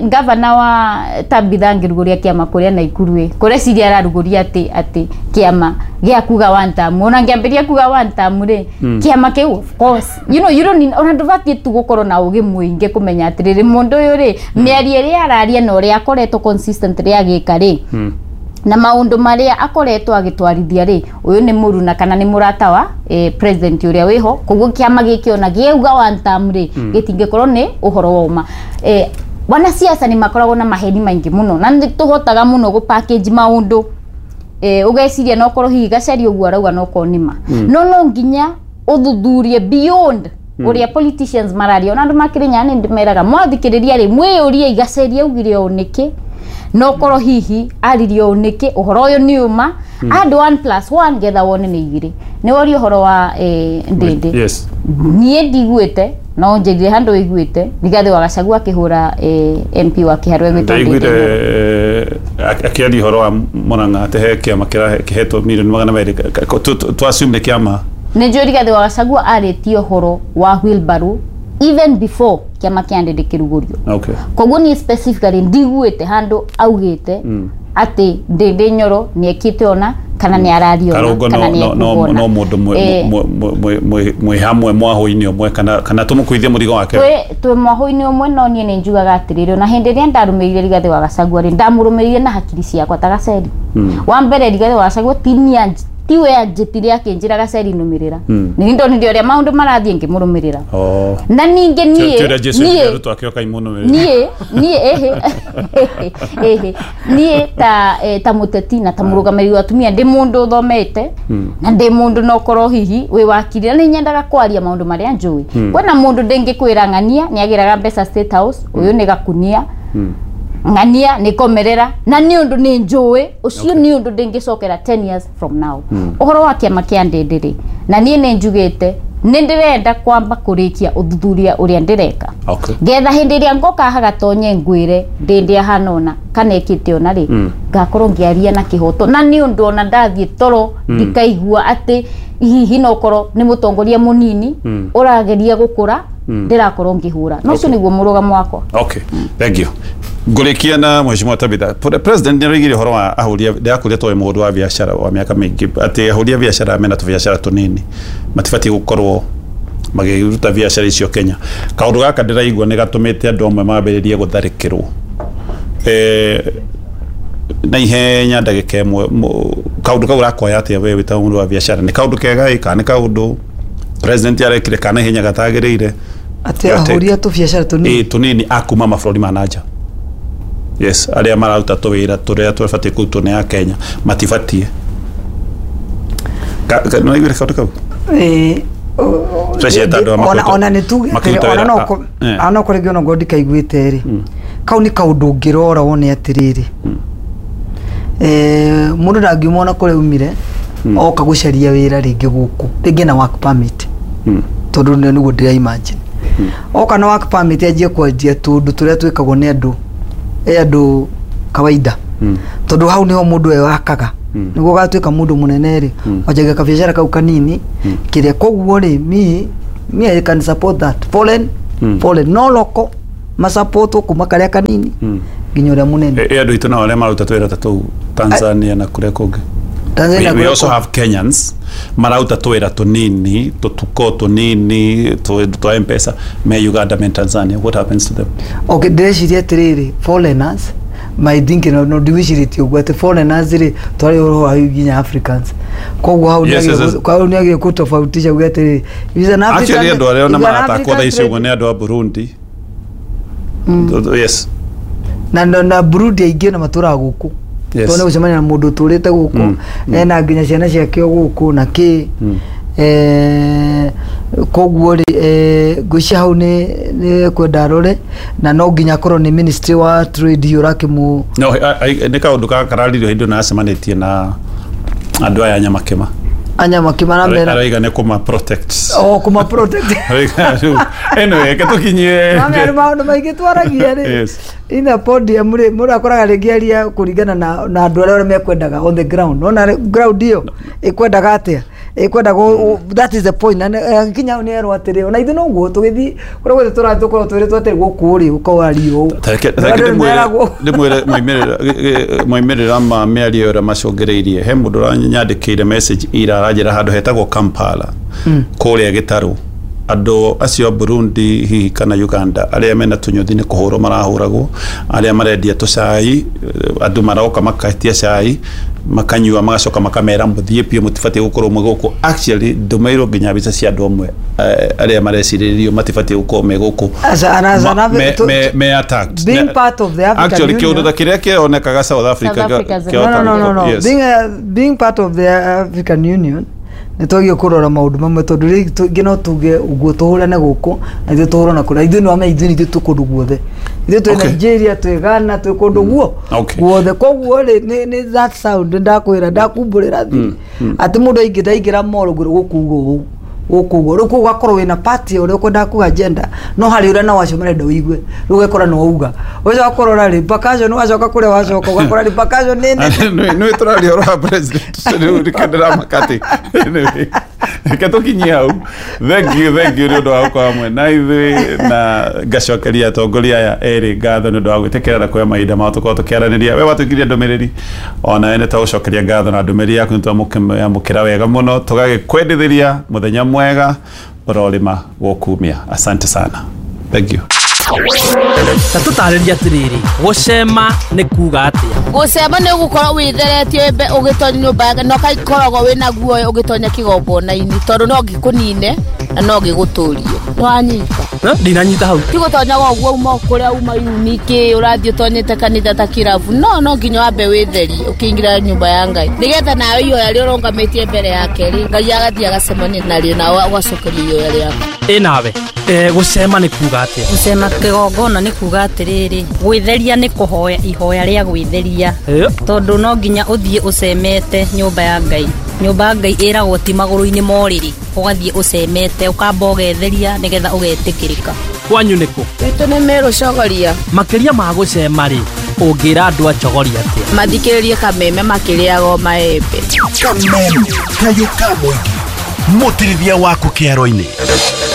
gavana wa Tabitha angĩrugũria kĩama kũrĩa Naikuru ĩ, kũreciria ararugũria atĩ kĩama gĩa kuga one term, ona angĩambĩrĩria kuga one term rĩ, kĩama kĩu of course you know you don't need, ona ndũbatiĩ tu gũkorwo na ũgĩ mũingĩ kũmenya atĩrĩrĩ, mũndũ ũyũ rĩ, mĩario ĩrĩa araria na ũrĩa akoretwo consistently agĩka rĩ, na maũndũ marĩa akoretwo agĩtwarithia rĩ, ũyũ nĩ mũruna kana nĩ mũrata wa president ũrĩa wĩho. Koguo kĩama gĩkĩ ona gĩauga one term rĩ, gĩtingĩkorwo nĩ ũhoro wa ũma. Wanasiasa nĩ makoragwo na maheni maingĩ mũno, na nĩ tũhotaga mũno gũ package maũndũ, ũgeciria no korwo hihi Gacerie ũguo arauga no korwo nĩ ma. No nginya ũthuthurie beyond ũrĩa politicians mararia. Ona andũ makĩrĩ nĩ ndĩmeraga mwathikĩrĩria rĩ, mwĩyũrie Gacerie augire ũũ nĩkĩ, no korwo hihi aririe ũũ nĩkĩ, ũhoro ũyũ nĩ ũma. Add 1 + 1 getha wone nĩ igĩrĩ. Nĩ woria ũhoro wa Ndĩndĩ. Yes. Niĩ ndiguĩte, no njĩrire handũ iguĩte Rigathĩ wa Gachagua akĩhũra MP wa Kĩharũ egwĩtwo Ndĩndĩ. Ndaiguire akĩaria ũhoro wa Murang'a atĩ he kĩama kĩhetwo mirioni 200, tũ assume nĩ kĩama. Nĩ njũĩ Rigathĩ wa Gachagua arĩtie ũhoro wa wheelbarrow even before kĩama kĩa Ndĩndĩ kĩrugũrio. Koguo niĩ specifically ndiguĩte handũ augĩte atĩ Ndĩndĩ Nyoro nĩ ekĩte ona kana nĩ araria ona kana nĩ no no mũndũ mwĩ hamwe mwahũ-inĩ ũmwe kana tũmũkuithie mũrigo wake. Twĩ mwahũ-inĩ ũmwe, no niĩ nĩ njugaga atĩrĩrĩ, ona hĩndĩ ĩrĩa ndarũmĩrĩire Rigathĩ wa Gachagua rĩ, ndamũrũmĩrĩire na hakiri ciakwa ta Gaceri. Wa mbere Rigathĩ wa Gachagua tiwe anjĩtire akĩnjĩra Gaceri nũmĩrĩra, nĩ ndonire ũrĩa maũndũ marathiĩ ngĩmũrũmĩrĩra. Na ningĩ niĩ ta mũteti na ta mũrũgamĩrĩri wa atumia ndĩ mũndũ ũthomete na ndĩ mũndũ no korwo hihi wĩ wakiri, na nĩ nyendaga kwaria maũndũ marĩa njũĩ. Kwĩna mũndũ ndĩngĩkwĩra ng'ania nĩ agĩraga mbeca State House, ũyũ nĩ gakunia, ng'ania nĩ komerera, na nĩ ũndũ nĩ njũĩ ũcio nĩ ũndũ ndĩngĩcokera 10 years from now. Ũhoro wa kĩama kĩa Ndĩndĩ rĩ, na niĩ nĩ njugĩte nĩ ndĩrenda kwamba kũrĩkia ũthuthuria ũrĩa ndĩreka, ngetha hĩndĩ ĩrĩa ngoka haha gatonye ngwĩre Ndĩndĩ ahana ũna kana ĩkĩte ũna rĩ, ngakorwo ngĩaria na kĩhoto, na nĩ ũndũ ona ndathiĩ toro ndikaigua atĩ hihi no korwo nĩ mũtongoria mũnini ũrageria gũkũra ndĩrakorwo ngĩhũra. No ũcio nĩguo mũrũgamo wakwa. Okay, thank you. Ngũrĩkia na Mheshimiwa Tabitha. President nĩ araigire ũhoro wa ahũri, ndĩrakũria tondũ mũhũri wa biacara wa mĩaka mĩingĩ, atĩ ahũri a biacara mena tũbiacara tũnini matibatiĩ gũkorwo magĩruta biacara icio Kenya. Kaũndũ gaka ndĩraigua nĩ gatũmĩte andũ amwe mambĩrĩrie gũtharĩkĩrwo na ihenya ndagĩka ĩmwe. Kaũndũ kau ũrakoya atĩa we wĩ ta mũhũri wa biacara? Nĩ kaũndũ kega ĩ kana nĩ kaũndũ president arekire kana ihenya gatagĩrĩire? Atĩ ahũri a tũbiacara tũnini tũnini a kuma mabũrũri ma nanja. Yes, arĩa mararuta tũwĩra tũrĩa tũbatiĩ kũrutwo nĩ a Kenya matibatiĩ. Nĩ waiguire kaũndũ kau? Ona nĩ tuge ona no kũrĩ ona ngorwo ndikaiguĩte rĩ, kau nĩ kaũndũ ũngĩrora wone atĩrĩrĩ, mũndũ ndangiuma ona kũrĩa umire oka gũcaria wĩra rĩngĩ gũkũ rĩngĩ na work permit, tondũ nĩguo ndĩra imagine oka na work permit anjie kwanjia tũndũ tũrĩa twĩkagwo nĩ andũ kawaida, tondũ hau niho mũndũ wakaga Nĩguo ũgatuĩka mũndũ mũnene rĩ, wanjagia kabiacara kau kanini kĩrĩa. Koguo rĩ, me I can support that foreign, foreign no local masupportwo kuma karĩa kanini nginya ũrĩa mũnene. Ĩ andũ aitũ nao arĩa maruta twĩra ta tũu Tanzania na kũrĩa kũngĩ? Tanzania We kũrĩa also kũngĩ. have Kenyans marauta twĩra tũnini, tũtuko tũnini, twa M-Pesa, me Uganda, me Tanzania. What happens to them? Okay, ndĩreciria atĩrĩrĩ, foreigners my thinking, no ndiwicirĩtie ũguo atĩ foreigners rĩ, twarĩ ũhoro wa nginya Africans, koguo hau hau nĩagĩrĩire kũtofautisha uge atĩrĩrĩ, is an African, Actually andũ arĩa ona is an maratakwo African thaa ici trade. ũguo nĩ andũ a Burundi. Yes. Na Burundi aingĩ na matũraga gũkũ. Tondũ nĩ gũcemania na mũndũ ũtũrĩte gũkũ, ena nginya ciana ciake o gũkũ na kĩ. Koguo rĩ, ngwĩciria hau nĩ kwenda arore na no nginya akorwo nĩ ministry wa trade ũrakĩmũ. No nĩ kaũndũ kararirio hĩndĩ ĩyo nacemanĩtie na andũ aya Nyamakĩma. Anyamakĩma aramera Araiga nĩ kũma protect. O kũma protect. Araiga rĩu, anyway, reke tũkinyie. Mamea nĩ maũndũ maingĩ twaragia rĩ ina podium rĩ, mũndũ akoraga rĩngĩ aria kũringana na andũ arĩa mekwendaga on the ground. Nona ground ĩyo ĩkwendaga atĩa, ĩkwendaga that is the point. Na kinya hau nĩ erwo atĩrĩ, ona ithuĩ noguo tũgĩthiĩ kũrĩa guothe tũrathiĩ tũkorwo twĩrĩtwo atĩrĩ, gũkũ rĩ ũkawario ũũ. Ta reke Andũ reke nĩ ndĩmwĩre meragwo. Ndĩmwĩre moimĩrĩra ma mĩario ĩrĩa macũngĩrĩirie. He mũndũ ũranyandĩkĩire message ira, aranjĩra handũ hetagwo Kampala, kũrĩa gĩtarũ, andũ acio a Burundi hihi kana Uganda arĩa mena tũnyũthi nĩ kũhũrwo marahũragwo, arĩa marendia tũcai, andũ maroka makahetia cai makanyua, magacoka makamera mũthiĩ biũ, mũtibatiĩ gũkorwo mwĩ gũkũ. Actually ndũmĩirwo nginya mbica cia andũ amwe, arĩa marecirĩrio matibatiĩ gũkorwo me gũkũ me attacked. Being part of the African Actually Union. kĩũndũ ta kĩrĩa kĩonekaga South Africa. South Africa. No. Being part of the African Union, nĩ twagĩrĩirwo kũrora maũndũ mamwe, tondũ rĩu tũngĩ no tuge ũguo tũhũrane gũkũ na ithuĩ tũhũrana kũrĩa. Ithuĩ nĩ wamenya ithuĩ nĩ ithuĩ twĩ kũndũ guothe, ithuĩ twĩ Nigeria, twĩ Ghana, twĩ kũndũ guo guothe. Koguo rĩ, nĩ that sound ndakwĩra, ndakumbũrĩra thi atĩ mũndũ aingĩ ndaingĩra mall ngwĩrwo gũkũ ũguo gũkũ ũguo. Rĩu koguo ũgakorwo wĩna party ũrĩa ũkwendaga kuga agenda, no harĩ ũrĩa nao acio marenda ũigue, rĩu ũgekora nĩ wauga, ũgacoka kũrora repercussion, wacoka kũrĩa wacoka ũgakora repercussion nĩ nene. Nĩ tũraria ũhoro wa president rĩu, reke ndĩramakati. Anyway, reke tũkinyie hau. Thank you, thank you nĩ ũndũ wa gũkorwo hamwe na ithuĩ, na ngacokeria atongoria aya erĩ ngatho nĩ ũndũ wa gwĩtĩkĩra na kuoya mahinda mao tũkorwo tũkĩaranĩria. We watũikirie ndũmĩrĩri, onawe nĩ twagũcokeria ngatho na ndũmĩrĩri yaku nĩ twamũkĩra wega mũno, tũgagĩkwendithĩria mũthenya mwega ũrorĩma gũkumia. Asante sana, thank you. Ta tũtarĩrie atĩrĩrĩ, gũcema nĩ kuga atĩa? Gũcema nĩ ũgũkorwo wĩtheretie ũgĩtonya nyũmba yake, na ũgakoragwo wĩna guoya ũgĩtonya kĩgongona-inĩ, tondũ no gĩkũnine na no gĩgũtũrie. Nĩwanyita? Ndinanyita hau. Ti gũtonyaga ũguo uma kũrĩa uma uniki ũrathiĩ ũtonyete kanitha ta kĩrabu, no nginya wambe wĩtherie ũkĩingĩra nyũmba ya Ngai, nĩgetha nawe ihoya rĩrĩa ũrũgamĩtie mbere yake rĩ, Ngai agathiĩ agacemania narĩo, nawe ũgacokeria ihoya rĩaku. Ĩ nawe, gũcema nĩ kuga atĩa? Gũcema kĩgongona nĩ kuga atĩrĩrĩ, gwĩtheria nĩ kũhoya ihoya rĩa gwĩtheria, tondũ no nginya ũthiĩ ũcemete nyũmba ya Ngai. Nyũmba ya Ngai ĩragwo ti magũrũ-inĩ ma ũrĩrĩ, ũgathiĩ ũcemete, ũkamba ũgetheria nĩgetha ũgetĩkĩrĩka. Kwanyu nĩkũ? Gwitũ nĩ Meru Chogoria. Makĩria ma gũcema rĩ, ũngĩra andũ a Chogoria atĩa? Mathikĩrĩrie Kameme makĩrĩaga maembe. Kameme kayũ ka mũingĩ, mũtirithia waku kĩaro-inĩ.